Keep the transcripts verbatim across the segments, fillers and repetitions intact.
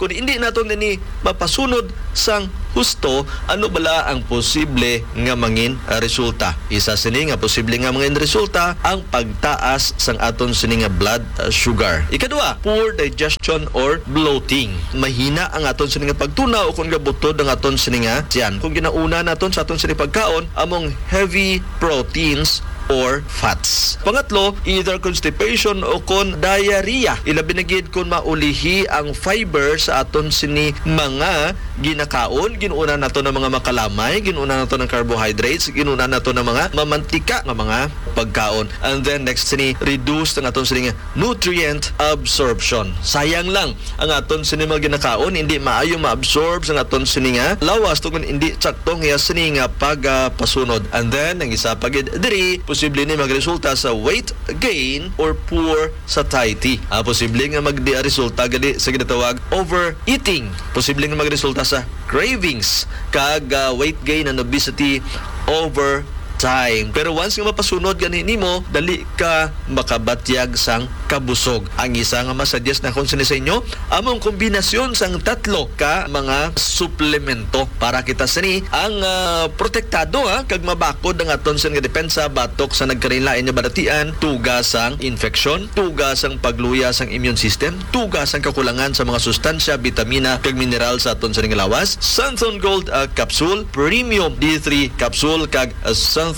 Kung hindi naton ini mapasunod sang husto, ano bala ang posible nga mangin, ah, resulta? Isa sini nga posible nga mangin resulta ang pagtaas sang aton sini nga blood, ah, sugar. Ikadua, poor digestion or bloating. Mahina ang aton sini nga pagtunaw o kung gabutod ang aton sini nga tiyan. Kung ginauna naton sa aton sini pagkaon, among heavy proteins or fats. Pangatlo, either constipation o kon diarrhea. Ilabi na gid kon maulihi ang fiber sa aton sini mga ginakaon. Ginuuna nato ng mga makalamay, ginuuna nato ng carbohydrates, ginuuna nato ng mga mamantika nga mga pagkaon. And then next sini, reduce ang aton sini nga nutrient absorption. Sayang lang ang aton sini mga ginakaon, hindi maayo ma-absorb sa aton sini nga lawas tungod hindi sakto ang iya sini nga pagapasunod. And then ang isa pa gid diri, posible ni magresulta sa weight gain or poor satiety. Ah, posible nga magdi resulta gali sa ginatawag overeating. Posible nga magresulta sa cravings kag, ah, weight gain and obesity over time. Pero once nga mapasunod gani nimo, dali ka makabatyag sang kabusog. Ang isa nga masuggest nakon sini sa inyo, among kombinasyon sang tatlo ka mga suplemento para kita sini ang, ah, protektado, ha, kag mabakod ang aton sini nga depensa batok sa nagkalainlain nga balatian, tuga sang infeksyon, tuga sang pagluya sang immune system, tuga sang kakulangan sa mga sustansya, bitamina, kag mineral sa aton sini nga lawas. Santhon Gold, ah, capsule, Premium D three capsule, kag, ah, Santhon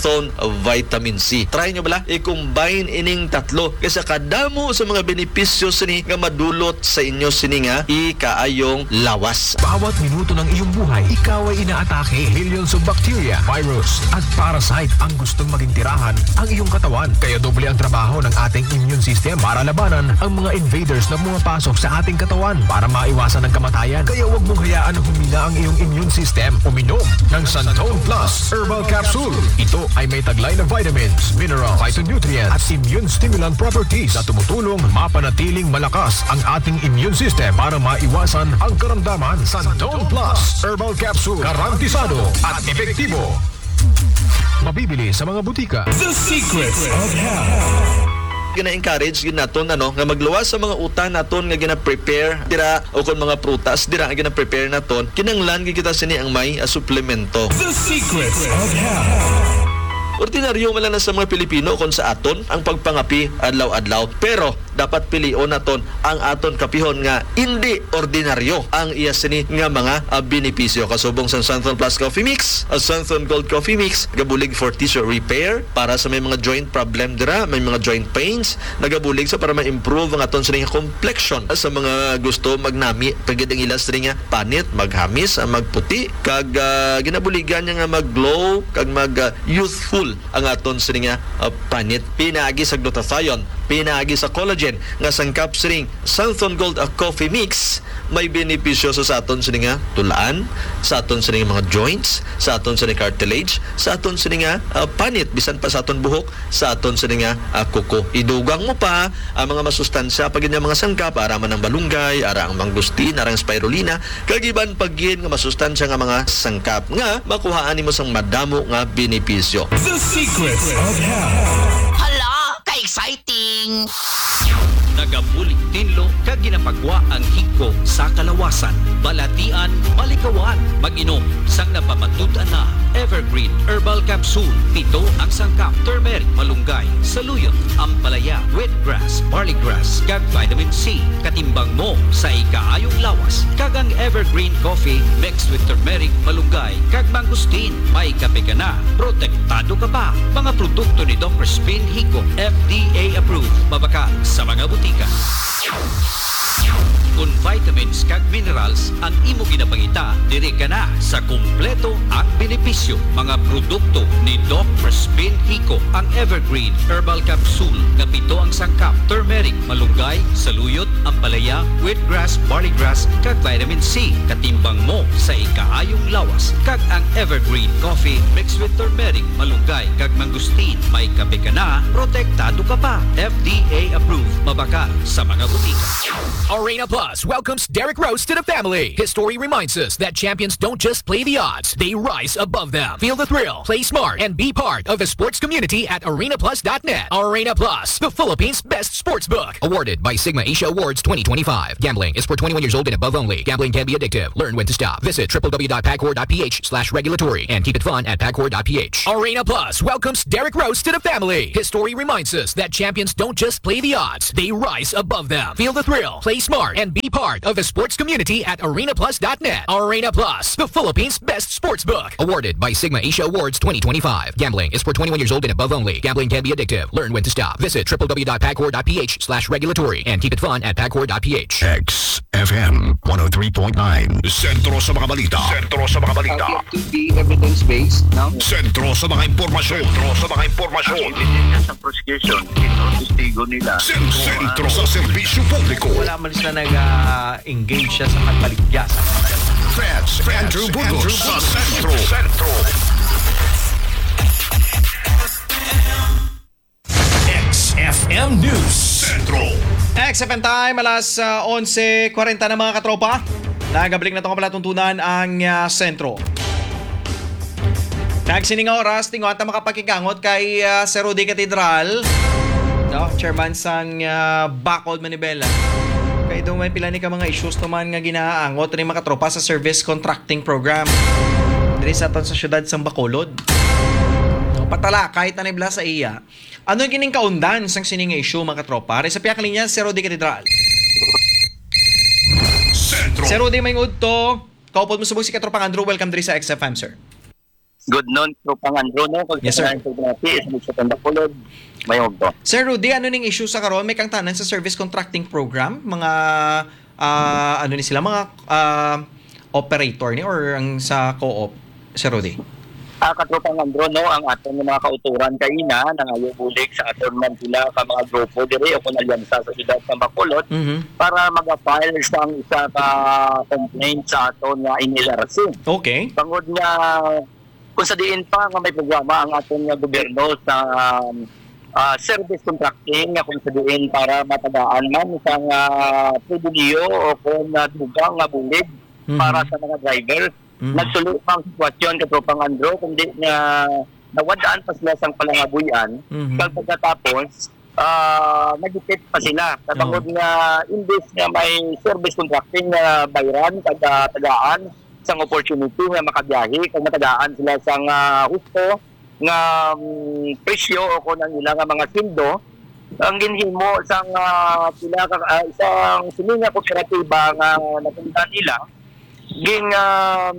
Vitamin C. Try nyo bala, i-combine ining tatlo kay sa kadamo sa mga benepisyo sini nga madulot sa inyo sini nga ikaayong lawas. Bawat minuto ng iyong buhay, ikaw ay inaatake. Millions of bacteria, virus, at parasite ang gustong maging tirahan ang iyong katawan. Kaya doble ang trabaho ng ating immune system para labanan ang mga invaders na pumapasok sa ating katawan. Para maiwasan ang kamatayan, kaya huwag mong hayaan na humina ang iyong immune system. Uminom ng Santon Plus Herbal Capsule. Ito ay may taglay na vitamins, mineral, phytonutrients, at immune stimulant properties na tumutulong mapanatiling malakas ang ating immune system para maiwasan ang karamdaman. Santon Plus Herbal Capsule, garantisado at epektibo. Mabibili sa mga butika. The Secrets of Health. Gina-encourage gid naton, ano, nga magluwas sa mga utan naton nga gina-prepare dira o kon mga prutas dira nga gina-prepare naton. Kinahanglan gid kita sini ang may, ah, suplemento. The Secrets of Health. Ordinaryo man lang na sa mga Pilipino kon sa aton ang pagpangapi adlaw-adlaw, pero dapat pilion naton ang aton kapihon nga indi ordinaryo ang iya sini nga mga, ah, benepisyo. Kasubong sang Santhon Plus Coffee Mix, ah, Santhon Gold Coffee Mix, gabulig for tissue repair para sa may mga joint problem dira, may mga joint pains, nagabulig sa para ma-improve ang aton sini nga complexion. Sa mga gusto magnami, pagid ang ilas sini nga panit, maghamis, ah, magputi, kag, ah, ginabuligan niya nga mag-glow, kag mag, ah, youthful ang aton sini nga, ah, panit. Pinaagi sa glutathione, pinaagi sa collagen nga sangkap sining Santhon Gold, ah, Coffee Mix, may benepisyo sa, sa aton sini nga tulaan, sa aton sini nga mga joints, sa aton sini cartilage, sa aton sini nga, ah, panit, bisan pa sa aton buhok, sa aton sini nga, ah, kuko. Idugang mo pa ang mga masustansya pa gid nga mga sangkap, ara man ang malunggay, ara ang mangosteen, ara ang spirulina, kag iban pa gid nga masustansya nga mga sangkap nga makuhaan nimo sang madamo nga benepisyo. The Secrets of Health. Hala, ka-exciting! Nagabulig tinlo kag ginapagwa ang hiko sa kalawasan, balatian, maligawan. Mag-inom sang napamatud-an na Evergreen Herbal Capsule. Pito ang sangkap: turmeric, malunggay, saluyot, ampalaya, wheatgrass, barleygrass, kag vitamin C. Katimbang mo sa ikaayong lawas, kag ang Evergreen Coffee mixed with turmeric, malunggay, kag mangosteen. May kape ka na, protektado ka pa. Mga produkto ni Doc Crispin Hico, F D A approved, mabakal sa mga butika. Kon vitamins kag minerals ang imo ginapangita, diri ka na sa kumpleto ang benepisyo. Mga produkto ni Doc Crispin Hico, ang Evergreen Herbal Capsule nga pito ang sangkap: turmeric, malunggay, saluyot, ampalaya, wheatgrass, barleygrass, kag vitamin C. Katimbang mo sa ikaayong lawas, kag ang Evergreen Coffee mixed with turmeric, malunggay, kag mangosteen. May kape ka na, protektado ka pa. F D A approved, mabakal sa mga butika. Arena Plus. Plus welcomes Derek Rose to the family. History reminds us that champions don't just play the odds, they rise above them. Feel the thrill, play smart, and be part of the sports community at arena plus dot net. Arena Plus, the Philippines' best sports book. Awarded by Sigma Asia Awards twenty twenty-five. Gambling is for twenty-one years old and above only. Gambling can be addictive. Learn when to stop. Visit www dot pacor dot ph slash regulatory and keep it fun at pacor dot ph. Arena Plus welcomes Derek Rose to the family. History reminds us that champions don't just play the odds, they rise above them. Feel the thrill, play smart, and be part of the sports community at arena plus dot net. Arena Plus, the Philippines' best sports book. Awarded by Sigma Asia Awards twenty twenty-five. Gambling is for twenty-one years old and above only. Gambling can be addictive. Learn when to stop. Visit www dot pacor dot ph slash regulatory and keep it fun at pacor dot ph. X F M one oh three point nine. Sentro sa mga balita. Sentro sa mga balita. It could be evidence-based, no? Sentro sa mga impormasyon. Sentro sa mga impormasyon. Ang ebidensya sa prosecution, ito ang testigo nila. Sen-, sentro sa serbisyo publiko. Wala man sila nag-engage siya sa pagbaligya sa Feds, Andrew Burgos sa Sentro. Sentro. X F M News Central. X F M time, alas, ah, onse kwarenta na, mga katropa. Nagabalik na to nga palatuntunan ang, ah, sentro. Nagsining nga oras, tinguha ta makapakikangot kay, ah, Sir Rudy Catedral, no? Chairman sang, ah, Bacolod Manibela. Kay daw may pila ni ka mga issues naman nga ginaangot ni, mga katropa, sa service contracting program diri sa aton sa siyudad sang Bacolod. No, patalakay ta ni bala sa iya. Ano ang gining kaundan sang sini nga issue, mga katropa? Ari sa pihak linya, Sir Rudy Catedral. Sentro. Sir Rudy, may udto. Kaupod mo subong si Katropang Andrew. Welcome diri sa X F M, sir. Good noon, Tropang Andrew, no? Kag Yes, sir. Sa mga sa Bacolod, may udto. Sir Rudy, ano ning issue sa karon? May kangtanan sa service contracting program? Mga, ah, ano ni sila? Mga, ah, operator ni or ang sa co-op, Sir Rudy? Ah, Katropang Andrew, no, ang aton nga mga kauturan kaina nangayo bulig sa aton man sila ka mga grupo diri o kung alyansa sa siyudad sa Bacolod Mhm. para mag-file sang isa ka complaint sa aton nga N L R C. Okay. Tungod nga kung sa diin pa nga may programa ang aton nga gobyerno sa, ah, service contracting nga kung sa diin para matagaan man sang, ah, pribilehiyo o kung, ah, dugang nga bulig Mhm. para sa mga driver. Mhm. Nagsulo pa ang sitwasyon, Katropang Andrew, kundi nga nawad-an pa sila sang palangabuy-an. Mhm. Kag pagkatapos, ah, nagipit pa sila. Sa Oo. bangod nga, imbes nga may service contracting nga bayran, taga, tagaan sang opportunity nga makabiyahe, kag matagaan sila sang, ah, husto nga, mm, presyo o kung ang ila nga mga sweldo, ang ginhimo sang, ah, pila ka, ah, isang sini nga kooperatiba nga nasundan nila, ging, um,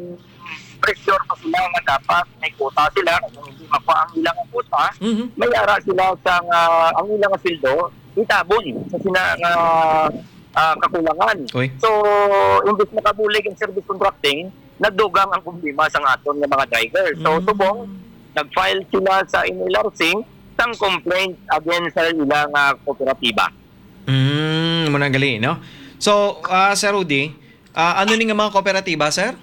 pressure pa sila nga dapat may quota sila. Kung hindi makuha ang ilang quota, Mhm. may ara sila sang, ah, ang ilang sweldo itabon sa sina nga, ah, kakulangan. Uy. So, imbis makabulig ang service contracting, nagdugang ang problema sa aton nga mga driver. So, Mm. subong, nag-file sila sa N L R C sang complaint against sa ilang, ah, kooperatiba. Mm, mo na gali, no? So, ah, Sir Rudy, ah, ano ni nga mga kooperatiba, sir?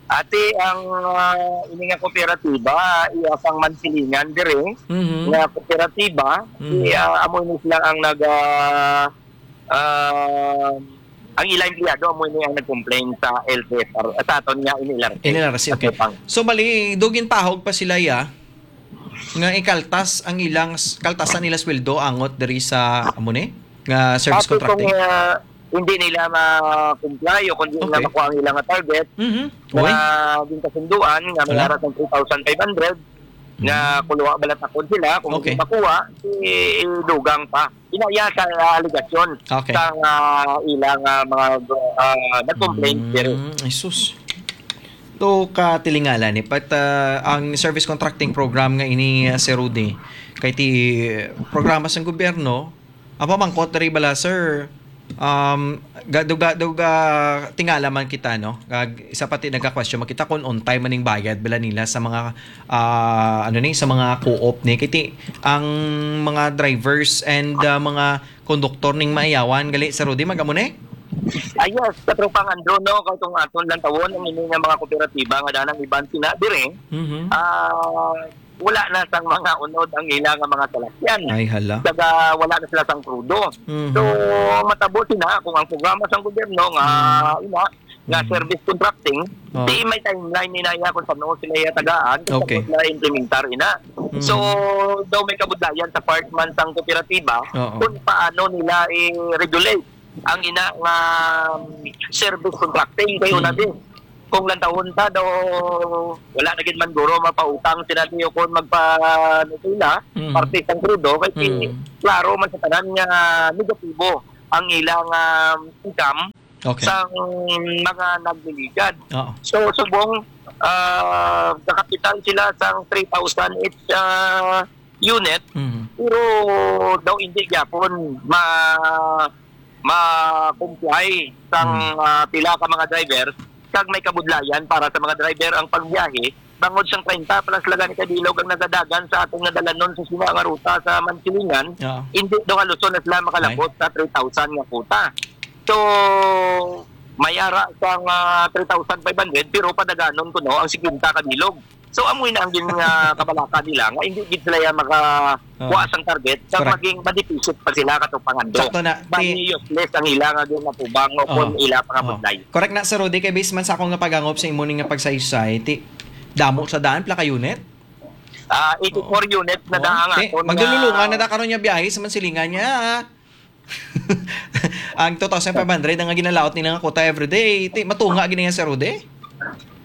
Ati ang, ah, ini nga kooperatiba, iya sang Mansilingan diri, Mhm. nga kooperatiba, Mhm. si, ah, amo ini sila ang nag, ah, ah, ang ila empleyado, amo ini ang nag-complain sa L T F R, sa aton nga N L R C. N L R C, okay. Sa Tupang. So, bali, dugin tahog pa sila, ya, nga ikaltas ang ilang s-, kaltasan nila sweldo angot diri sa, amo ni, nga service Ati kung, contracting? ah, hindi nila ma-comply o kung hindi nila Okay. makuha ang ilang target Mhm. na Uy. ginkasunduan nga may Wala. ara sang three thousand five hundred, nga Mhm. kuluwa balatakon sila, kung hindi Okay. makuha, idugang pa. Inaya sa, ah, alegasyon Okay. sang, ah, ilang, ah, mga, ah, nag-complain Mm, diri. Ay, sus. To ka tilingala ni, but, ah, ang service contracting program nga ini, ah, Sir Rudy, kay ti programa sang gobyerno, ang pamangkot diri bala, sir, um, ga-, do ga-, do ga-, tingala man kita, no? Kag isa pa ti nagka-question man kita kung on time man ning bayad bala nila sa mga, ah, ano ni, sa mga co-op ni. Kay ti ang mga drivers and, ah, mga konduktor ning Maiyawan gali, Sir Rudy, mag-amo ni? Ah, yes, Katropang Andrew, no, kay kung aton lantawon ang ini nga mga kooperatiba nga danang iban sina diri, Mhm. ah, wala na sang mga unod ang ila nga mga salakyan. Ay, hala. Kag wala na sila sang krudo. Mhm. So, matabo sina kung ang programa sang gobyerno nga, Mm. ina, nga Mm. service contracting, Oo. di may timeline ni naya kung saan sila iya tagaan, kung Okay. saan sila implementar ina. Mm. So, daw may kabudlayan sa part man sang kooperatiba Oo. kung paano nila i-regulate ang ina nga, um, service contracting. Kay una Mm. din, kung lantawon ta daw, wala na gid man guro mapautang sila diyo kung magpa-, ano sila, Mm. parte sang krudo, kay Mm. klaro man sa tanan nga negatibo ang ilang, um, income Okay. sang mga nagliligad. Oo. So, subong, ah, nakapital sila sang three thousand each, ah, unit, Mhm. pero daw hindi gyapon ma-, ma-comply sang, Mm. ah, pila ka mga driver, kag may kabudlayan para sa mga driver ang pagbiyahe, bangod sang treinta plus lang gani ka bilog ang nagadagan sa aton nga dalanon sa sina nga ruta sa Mansilingan, Oo. hindi daw haluson na sila makalabot Ay. sa three thousand nga kuta. So, may ara sang, ah, three thousand five hundred, pero padaganon kuno ang singkwenta ka bilog. So, amoy na ang gin-, ah, kabalaka nila nga hindi gid sila ya maka-, Oo. kuha sang target, kag Correct. maging ma-deficit pa sila, Katropang Andro. Sakto na. Bali, Ti- useless ang ila nga ginatubang o Oo. kung ila pangabudlay. Oo. Correct na, Sir Rudy, kay based man sa akong nga pag-angop sa imo ni nga pagsaysay, ti, damo sa daan, pila ka unit? Ah, eighty-four Oo. units na Oo. daan ang Ti, aton nga maglululungan na da karon nga biyahe sa Mansilingan niya, ah. Ang two thousand five hundred ang ginalaot nila nga kuta every day. Ti, matunga gid niya, Sir Rudy?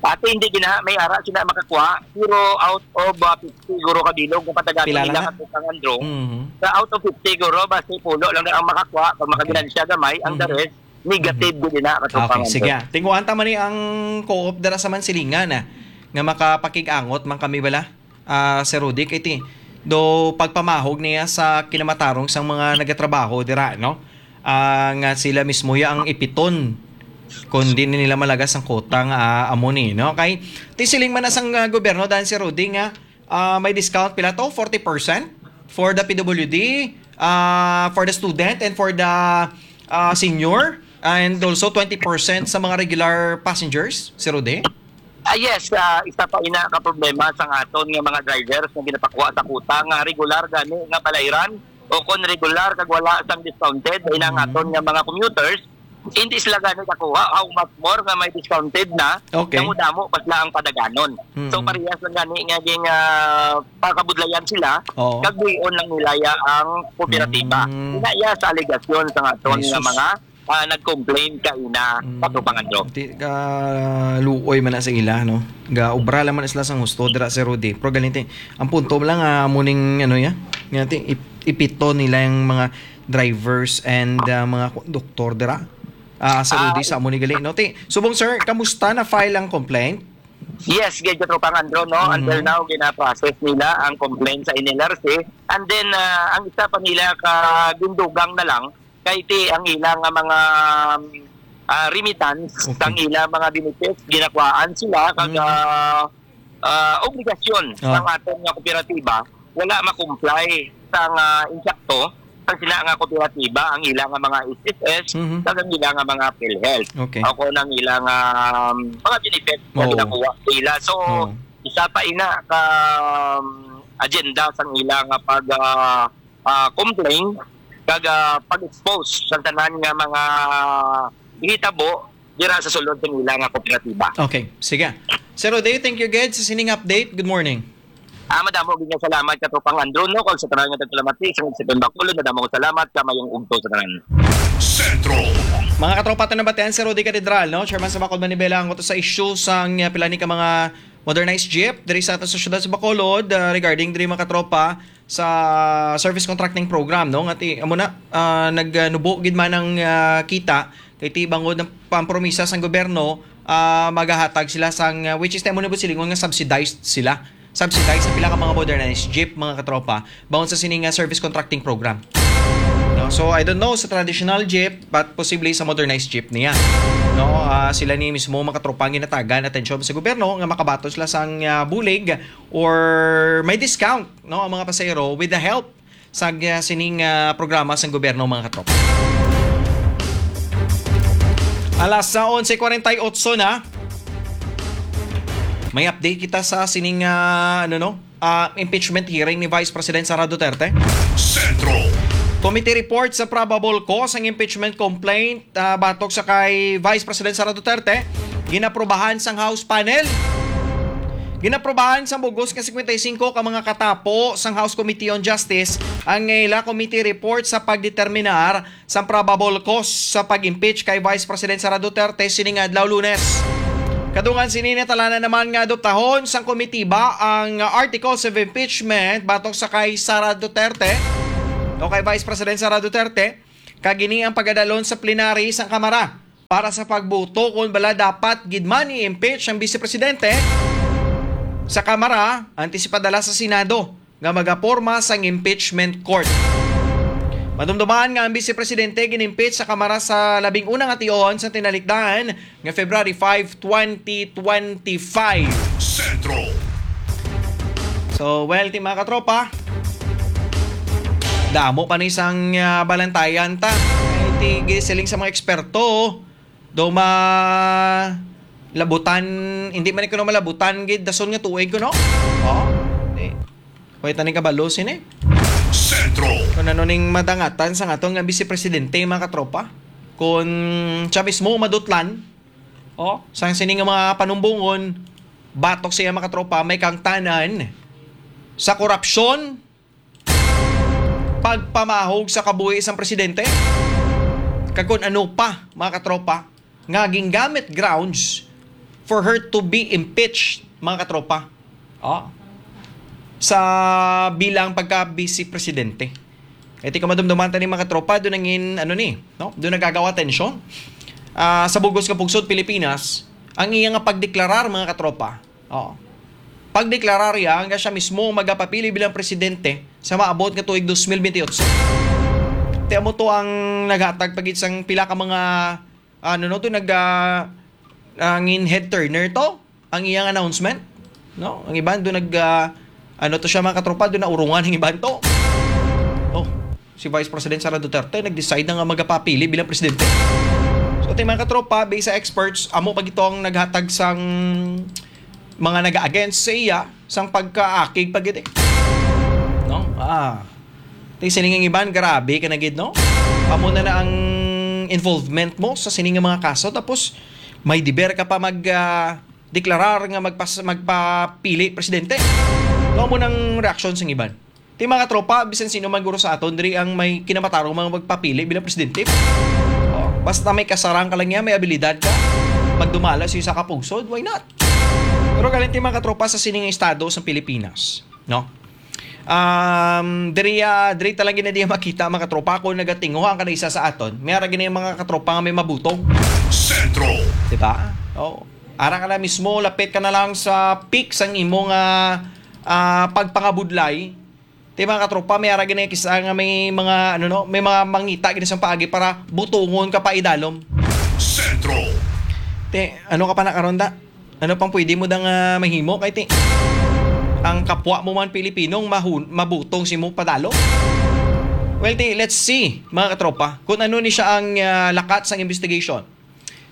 Ate, hindi gina, may ara sila makakuha. Pero out of, ah, fifty guro ka bilog, nga patagan Pila lang nila na? Katropang Andro. Mhm. Sa out of fifty guro, basta pulo lang na ang makakuha. Pag Okay. makaginansya gamay, ang the Mhm. rest, negative Mhm. gid na, Katropang Okay, Andro. sige. Tinguhan ta man ni ang co-op dira sa Mansilingan, ah, nga makapakig-angot man kami bala, ah, Sir Rudy, kay ti, do pagpamahog niya sa kinamatarong sang mga nagatrabaho dira, no? Ah, nga sila mismo ya ang ipiton kung di nila malagas ang kota nga, ah, amo ni, no? Kay ti siling man na sang, ah, gobyerno, dan, Sir Rudy, nga, ah, may discount pila to? Forty percent for the P W D, ah, for the student, and for the, ah, senior, and also twenty percent sa mga regular passengers, Sir Rudy? Ah, yes, ah, isa pa ina ka problema sang aton nga mga drivers nga ginapakuha sa kuta nga regular gani nga balayran o kon regular kag wala sang discounted, ina nga Mm. aton nga mga commuters, hindi sila gani kakuha. How much more nga may discounted na, Okay. damo-damo pa sila ang padaganon. So, Mm. parehas lang gani nga ging, ah, pakabudlayan sila, Oo. kag buhion lang nila ya ang kooperatiba. Mm. Ina ya sa alegasyon sang aton Ay, nga sus. mga, ah, nag-complain kaina, Mm. Katropang Andro. Ti, ka luoy man na sa ila, no? Ga obra lang man sila sang husto dira, Sir Rudy. Pero galinti, ang punto lang, ah, muning, ano ya? Nga ti, ip-, ipito nila yung mga drivers and, ah, mga konduktor dira. Ah, Sir Ah, Rudy, sa amo ni gali, no? Ti, subong, sir, kamusta na file ang complaint? Yes, gid, Katropang Andro, no? Mhm. Until now, gina-process nila ang complaint sa N L R C. And then, ah, ang isa pa nila ka gindugang na lang, kay ti ang ila nga mga, ah, remittance, Okay. sang ila mga benefits, ginakuhaan sila, kag, Mm. ah, ah, obligasyon Ah. sang aton nga kooperatiba, wala ma-comply sang, ah, insakto, sang sila nga kooperatiba, ang ila nga mga S S S, Mhm. kag ang ila nga mga PhilHealth. Okay. O kung ang ila nga, um, mga benefits nga Oo. ginakuha nila. So, Oo. isa pa ina ka, um, agenda sang ila nga pag, ah, ah, complain kag, ah, pag-expose sa tanan nga mga gihitabo dira sa sulod sa ila nga kooperatiba. Okay, sige. Sir Rudy, thank you gid sa sining update. Good morning. Ah, madamo gid nga salamat, Katropang Andro, no, kag sa tanan nga nagpalamati sa Siton Bacolod, madamo nga salamat, kag maayong udto sa tanan. Sentro. Mga katropa, ito nabatian si Rudy Catedral, no? Chairman sa Bacol Manibela, ang utos sa issue sang, uh, pila ni ka mga modernized jeep diri sa aton sa siyudad sa Bacolod, uh, regarding diri, mga katropa, sa service contracting program, no? Nga ti, amo na, ah, nagnubo gid man ang, ah, kita, kay ti bangod ang pampromisa sang gobyerno, ah, magahatag sila sang, ah, which is, temo ni Busilingon nga subsidized sila. Subsidized sa pila ka mga modernized jeep, mga katropa, bangod sa sini nga service contracting program. No? So, I don't know sa traditional jeep, but posible sa modernized jeep niya. No? Ah, sila ni mismo, mga katropa, ang ginatagan atensyon sa gobyerno nga makabaton sila sang, ah, bulig or may discount, no, ang mga pasahero with the help sa, uh, sining, uh, programa sang gobyerno, mga katropa. Alas sa onse kwarenta y ocho na. May update kita sa sining, uh, ano, no? ah, impeachment hearing ni Vice President Sara Duterte? Sentro. Committee report sa probable cause sang impeachment complaint, ah, batok sa kay Vice President Sara Duterte, ginaprubahan sang House panel. Ginaprubahan sang bugos nga cincuenta y cinco ka mga katapo sang House Committee on Justice ang ila committee report sa pagdeterminar sang probable cause sa pag-impeach kay Vice President Sara Duterte sining adlaw, Lunes. Kadungan sini, natalaan naman nga adoptahon sang komitiba ang articles of impeachment batok sa kay Sara Duterte o kay Vice President Sara Duterte, kag ini ang pagadalon sa plenary sang Kamara para sa pagboto kon bala dapat gid man i-impeach ang Vice Presidente sa Kamara antes ipadala sa Senado nga magaporma sang impeachment court. Madumduman nga ang Vice Presidente gin-impeach sa Kamara sa labing una nga tion sa tinalikdan nga February five, twenty twenty-five. Sentro. So, well, ti mga katropa, damo pa ni sang, ah, balantayan ta. Ay, ti, gisiling sa mga eksperto, do ma-, labutan, hindi man kuno malabutan gid dason nga tuig kuno. Oh, eh. Way tani kabalo sini. Sentro. Kung ano ning madangatan sa aton nga Vice Presidente, mga katropa. Kung siya mismo madutlan, oh, sang sini nga mga panumbongon, batok siya, mga katropa, may kangtanan sa korupsyon, pagpamahog sa kabuhi sang presidente, kag kun ano pa, mga katropa, nga gingamit grounds for her to be impeached, mga katropa. Oh. Sa bilang pagka-vice presidente. Iti kamadumduman tani, mga katropa, doon nangin, ano ni, no? Doon nagagawa tensyon. Ah, sa bugos nga pungsod Pilipinas, ang iya nga pagdeklarar, mga katropa. Oh. Pagdeklarar iya nga siya mismo ang magapapili bilang presidente sa maabot nga tuig dos mil bentiocho. Ti amo to ang naghatag pa gid sang pila ka mga, ano, no, to nag, ah, nangin head turner to ang iyang announcement, no? Ang iban do nag, ah, ano to siya, mga katropa, do naurungan ang iban to. Oh, si Vice President Sara Duterte nag-decide na nga magapapili bilang presidente. So, ti mga katropa, based sa experts, amo pa gid to ang naghatag sang mga naga-against sa iya sang pagkaakig pa gid, eh. No? Ah. Ti sining ang iban, grabe ka na gid, no? Amo na na ang involvement mo sa sining nga mga kaso, tapos may deber ka pa mag, ah, deklarar nga magpas-, magpapili presidente. No, amo nang reaksyon sang iban. Ti mga katropa, bisan sino man guro sa aton diri ang may kinamatarong mga magpapili bilang presidente. Oh, basta may kasarang ka lang niya, may abilidad ka, magdumala sa isa ka pungsod, why not? Pero galing ti mga katropa sa sining estado sa Pilipinas, no? Um, diri, ah, diri talaga na diya makita, mga katropa, kung nagatinguha ang kada isa sa aton. May ara gini mga katropa nga may mabutong. Sentro. Di ba? Oh. Ara ka na mismo, lapit ka na lang sa peak sang imo nga, ah, pagpangabudlay. Ti mga katropa, may ara gini kisa nga may mga, ano, no, may mga mangita gini sa paagi para butungon ka pa idalom. Sentro. Ti, ano ka pa na karon da? Ano pang pwede mo da nga mahimo kay ti ang kapwa mo man Pilipinong mahun-, mabutong si mo padalom? Well, ti, let's see, mga katropa, kung ano ni siya ang, ah, lakat sang investigation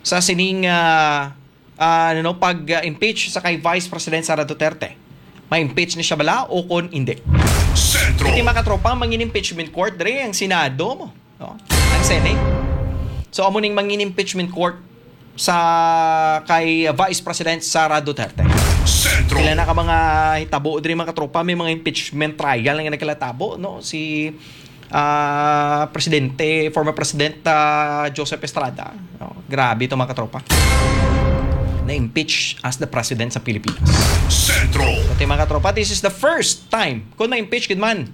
sa sining, ah, ah, ano, pag, ah, impeach sa kay Vice President Sara Duterte. Ma-impeach ni siya bala o kon hindi? Sentro. Iti mga katropa, mangin impeachment court dre ang Senado mo, no? Ang Senate. So, amo ning mangin impeachment court sa kay Vice President Sara Duterte. Sentro. Pila na ka mga hitabo diri, mga katropa, may mga impeachment trial nga nagkalatabo, no? Si, ah, Presidente, former President, ah, Joseph Estrada. No? Grabe to, mga katropa. Na-impeach as the president sa Pilipinas. Sentro. Pati, mga katropa, this is the first time kung na-impeach gid man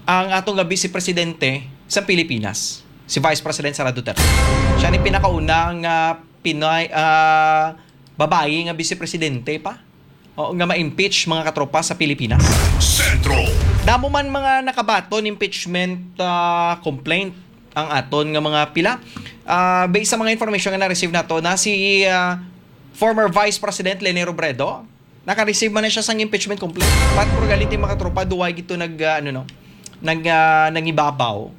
ang ato nga Vice Presidente sa Pilipinas, si Vice President Sara Duterte. Siya ni pinakauna nga Pinay, ah, babayi nga Vice Presidente pa. O, nga ma-impeach, mga katropa, sa Pilipinas. Sentro. Damo man mga nakabaton impeachment, ah, complaint ang aton nga mga pila. Ah, based sa mga information nga na-receive nato, na si, ah, former Vice President Leni Robredo, naka-receive man na siya sang impeachment complaint. But for reality, mga tropa, duway gito nag, ah, ano, no, nag, ah, nangibabaw.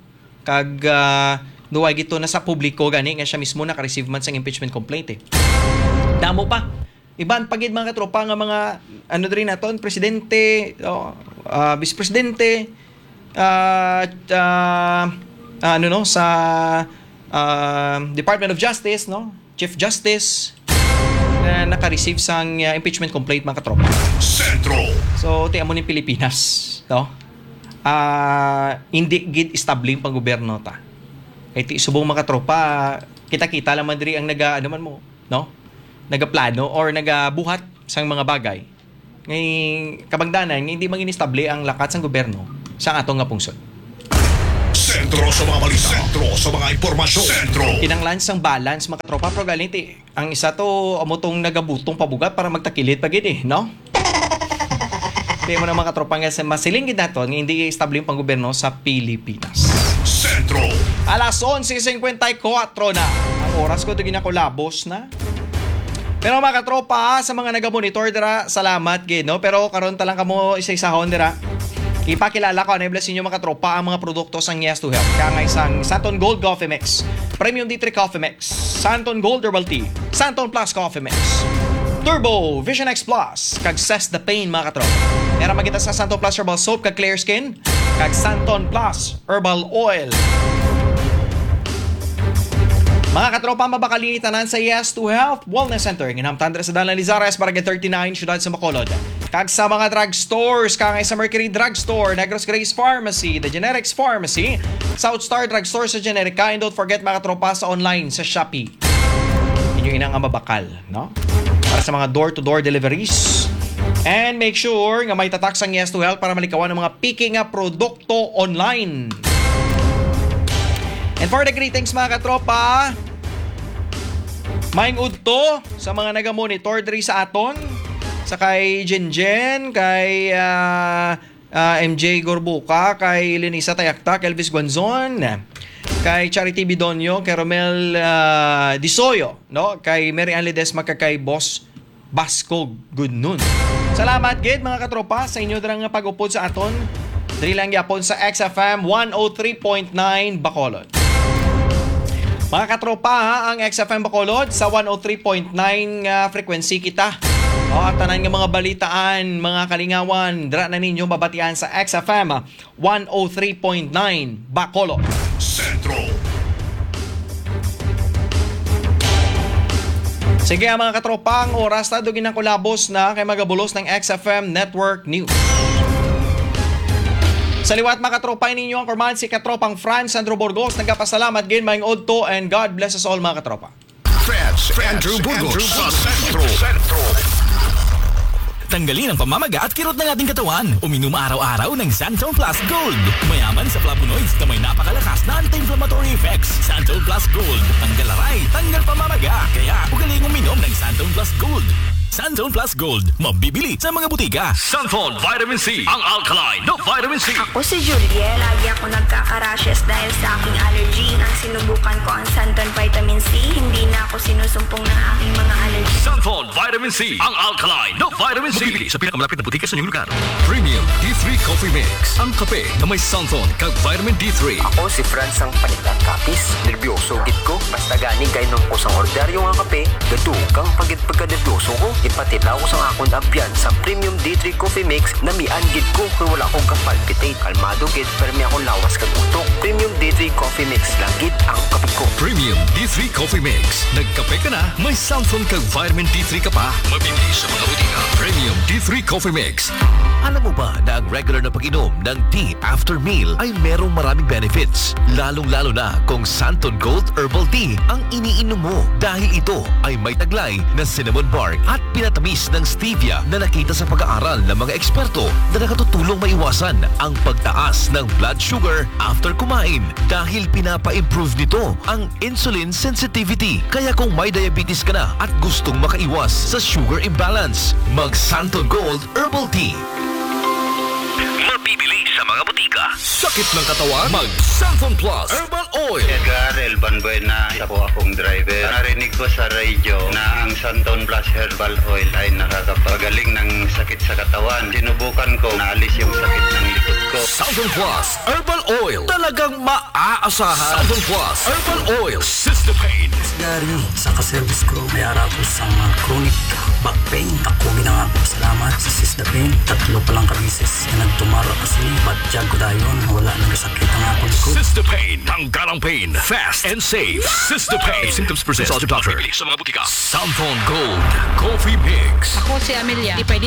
Kag, ah, duway gito na sa publiko gani nga siya mismo naka-receive man sang impeachment complaint, eh. Damo pa. Iban pa gid, mga katropa, nga mga, ano, diri naton, presidente, o, ah, vice presidente, ah, ah, ano, no, sa, ah, Department of Justice, no, Chief Justice, na naka-receive sang, ah, impeachment complaint, mga katropa. Sentro. So, ti amo ni Pilipinas, no? Ah, hindi gid estable ang panggobyerno ta. Kay ti subong, mga katropa, kita-kita lang man diri ang naga, ano man mo, no? Nagaplano or nagabuhat sang mga bagay. Ngay kabangdanan nga hindi maging estable ang lakat sang gobyerno sa ato nga pungsod. Sentro sa mga balita. Sentro sa mga impormasyon. Sentro. Kinahanglan sang balance, mga katropa, pero galing ti, ang isa to, amo tong nagabutong pabugat para magtakilid pa gid eh, no? Kaya mo na, mga katropa, nga sa masiling gid naton nga hindi estable ang panggobyerno sa Pilipinas. Sentro. Alas onse cincuenta y cuatro na ang oras ko, to ginakulabos na. Pero, mga katropa, ha, sa mga nagamonitor dira, salamat gid, no? Pero karon ta lang kamo isa-isahon dira. Ipakilala ko, ano, bless inyo, mga katropa, ang mga produkto sang Yes to Health. Kangay sang Santon Gold Coffee Mix, Premium D three Coffee Mix, Santon Gold Herbal Tea, Santon Plus Coffee Mix, Turbo Vision X Plus, kag Cess the Pain, mga katropa. Era magita sa Santon Plus Herbal Soap kag Clear Skin, kag Santon Plus Herbal Oil. Mga katropa, mabakal ini tanan sa Yes to Health Wellness Center. Ginhamtang dira sa Dalan Lizares, Barangay thirty-nine, Siyudad sa Bacolod. Kag sa mga drugstores, kangay sa Mercury Drugstore, Negros Grace Pharmacy, The Generics Pharmacy, South Star Drugstore sa Generica, and don't forget, mga katropa, sa online, sa Shopee. Inyo ina nga mabakal, no? Para sa mga door-to-door deliveries. And make sure nga may tatak sang Yes to Health para malikawan ang mga piki nga produkto online. And for the greetings, mga katropa, maayong udto sa mga nagamonitor diri sa aton, sa kay Jinjen, kay, ah, ah, M J Gorbuca, kay Lenisa Tayaktak, Elvis Guanzon, kay Charity Bidonio, kay Romel, ah, Disoyo, no? Kay Mary Ann Ledesma, kag kay Boss Baskog. Good noon. Salamat gid, mga katropa, sa inyo dira nga pag-upod sa aton. Diri lang gyapon sa X F M one oh three point nine Bacolod. Mga katropa, ha, ang X F M Bacolod sa one oh three point nine nga frequency kita. O, ang tanan nga mga balitaan, mga kalingawan, dira na ninyo mabatian sa X F M one oh three point nine Bacolod. Sentro. Sige, mga katropa, ang oras ta, dugi na kulabos na kay magabulos ng X F M Network News. Sa liwat, mga katropa, ninyo ang kurman si katropang Franz Sandro Burgos. Nagapasalamat gid, maayong udto, and God bless us all, mga katropa. Franz Andrew Burgos sa Sentro. Tanggalin ang pamamaga at kirot ng ating katawan. Uminom araw-araw ng Santon Plus Gold. Mayaman sa flavonoids na may napakalakas na anti-inflammatory effects. Santon Plus Gold. Tanggal aray, tanggal pamamaga. Kaya ugaling uminom ng Santon Plus Gold. Santon Plus Gold. Mabibili sa mga butika. Santon Vitamin C, ang alkaline na vitamin C. Ako si Juliet. Lagi ako nagkaka-rashes dahil sa aking allergy. Nang sinubukan ko ang Santon Vitamin C, hindi na ako sinusumpong ng aking mga allergy. Santon Vitamin C, ang alkaline na vitamin C. Mabibili sa pinakamalapit na butika sa inyong lugar. Premium D three Coffee Mix, ang kape na may Santon kag vitamin D three. Ako si Franz, ang panitan kapis. Nerbyoso gid ko. Basta gani kainom ko sang ordinaryo nga kape, gadugang pa gid pagkanerbyoso ko. Ipatilaw ko sang akon abyan sa Premium D three Coffee Mix, namian gid ko kay wala ko ka-palpitate. Kalmado gid, permi akong lawas kag utok. Premium D three Coffee Mix lang gid ang kape ko. Premium D three Coffee Mix. Nagkape ka na, may Santon kag vitamin D three ka pa. Mabibili sa mga butika. Premium D three Coffee Mix. Alam mo ba na ang regular na pag-inom ng tea after meal ay merong maraming benefits, lalong-lalo na kung Santon Gold Herbal Tea ang iniinom mo, dahil ito ay may taglay na cinnamon bark at pinatamis ng stevia na nakita sa pag-aaral ng mga eksperto na nakatutulong maiwasan ang pagtaas ng blood sugar after kumain, dahil pinapa-improve nito ang insulin sensitivity. Kaya kung may diabetes ka na at gustong makaiwas sa sugar imbalance, mag Santon Gold Herbal Tea. Mabibili sa mga butika. Sakit ng katawan? Mag Santon Plus Herbal Oil. Edgar Elban Buena, isa po akong driver. Narinig ko sa radyo na ang Santon Plus Herbal Oil ay nakakapagaling ng sakit sa katawan. Sinubukan ko, naalis yung sakit ng likod Southern Plus Herbal Oil. Talagang maaasahan. Southern Plus Herbal Oil. Sister Pain. Gary, sa ka-service ko, may ara ko sa mga chronic back pain. Ako ginangako salamat sa Sister Pain. Tatlo pa lang ka beses na nagtumar ako sini. Batyag ko dayon, wala nang sakit ang akong likod. Sister Pain. Tanggal ang pain. Fast and safe. Sister Pain. If symptoms persist, consult your doctor. Sa mga butika. Samphon Gold Coffee Mix. Ako si Amelia. Di pwede